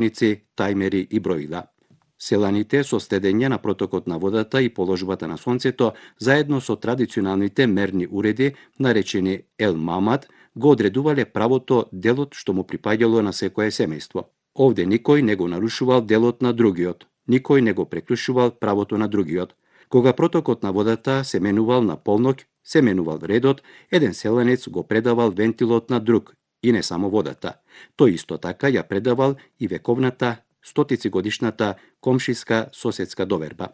ници, тајмери и броила. Селаните со следење на протокот на водата и положбата на сонцето, заедно со традиционалните мерни уреди, наречени Ел Мамат, го одредувале правото делот што му припаѓало на секое семејство. Овде никој не го нарушувал делот на другиот, никој не го преклучувал правото на другиот. Кога протокот на водата се менувал на полноќ, се менувал редот, еден селанец го предавал вентилот на друг, и не само водата. Тој исто така ја предавал и вековната, стотицигодишната комшиска соседска доверба.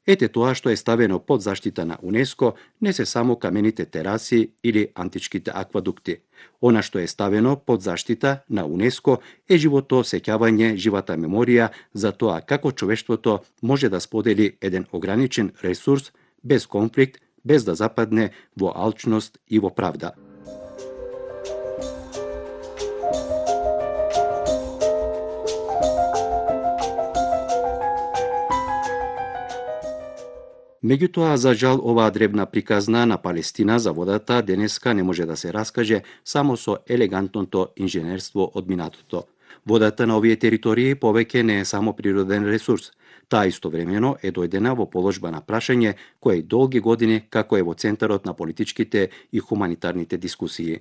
Ете тоа што е ставено под заштита на УНЕСКО не се само камените тераси или античките аквадукти. Она што е ставено под заштита на УНЕСКО е живото сеќавање, живата меморија за тоа како човештвото може да сподели еден ограничен ресурс без конфликт, без да западне во алчност и во правда. Меѓутоа, за жал, оваа дребна приказна на Палестина за водата денеска не може да се раскаже само со елегантното инженерство од минатото. Водата на овие територии повеќе не е само природен ресурс. Таа истовремено е дојдена во положба на прашање кое и долги години како е во центарот на политичките и хуманитарните дискусии.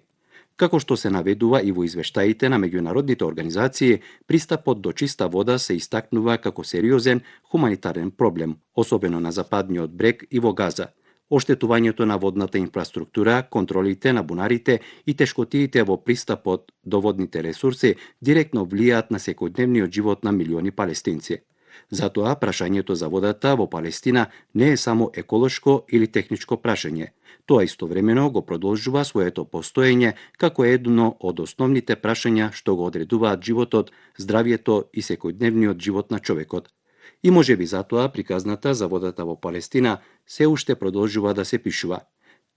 Како што се наведува и во извештаите на меѓународните организации, пристапот до чиста вода се истакнува како сериозен хуманитарен проблем, особено на западниот брег и во Газа. Оштетувањето на водната инфраструктура, контролите на бунарите и тешкотиите во пристапот до водните ресурси директно влијаат на секојдневниот живот на милиони палестинци. Затоа прашањето за водата во Палестина не е само еколошко или техничко прашање. Тоа истовремено го продолжува своето постоење како едно од основните прашања што го одредуваат животот, здравието и секојдневниот живот на човекот. И можеби затоа приказната за водата во Палестина се уште продолжува да се пишува.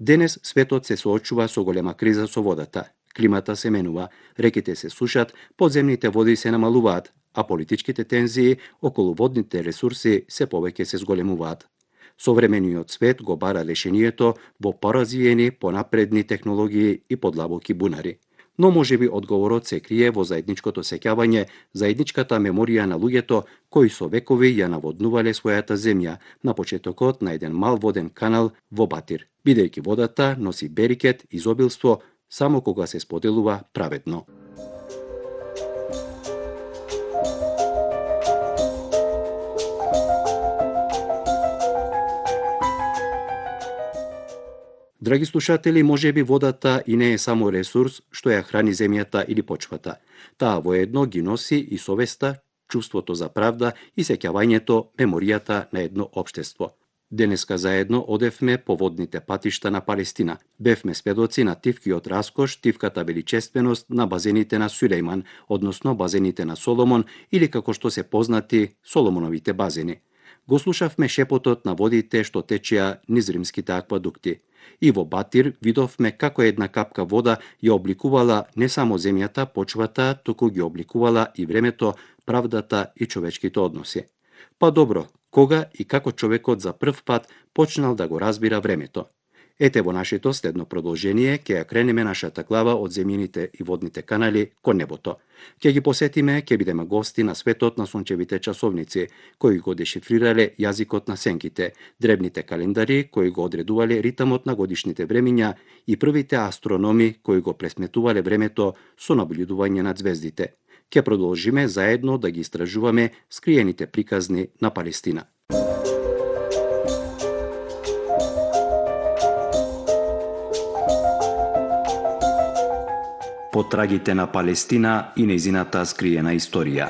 Денес светот се соочува со голема криза со водата. Климата се менува, реките се сушат, подземните води се намалуваат, а политичките тензии околу водните ресурси се повеќе се зголемуваат. Современиот свет го бара решението во поразвиени, понапредни технологии и подлабоки бунари. Но можеби одговорот се крие во заедничкото сеќавање, заедничката меморија на луѓето кои со векови ја наводнувале својата земја на почетокот на еден мал воден канал во Батир, бидејќи водата носи берикет, изобилство, само кога се споделува праведно. Драги слушатели, можеби водата и не е само ресурс што ја храни земјата или почвата. Таа воедно ги носи и совеста, чувството за правда и сеќавањето, меморијата на едно општество. Денеска заедно одевме по водните патишта на Палестина. Бевме сведоци на тивкиот раскош, тивката величественост на базените на Сулејман, односно базените на Соломон или како што се познати Соломоновите базени. Го слушавме шепотот на водите што течеа низ римските аквадукти. И во Батир видовме како една капка вода ја обликувала не само земјата, почвата, туку ги обликувала и времето, правдата и човечките односи. Па добро, кога и како човекот за прв пат почнал да го разбира времето? Ете во нашето следно продолжение ќе ја кренеме нашата глава од земјините и водните канали кон небото. Ќе ги посетиме, ќе бидеме гости на светот на сончевите часовници, кои го дешифрирале јазикот на сенките, дребните календари кои го одредувале ритамот на годишните времиња и првите астрономи кои го пресметувале времето со наблюдување над звездите. Ќе продолжиме заедно да ги истражуваме скриените приказни на Палестина. Потрагите на Палестина и нејзината скриена историја.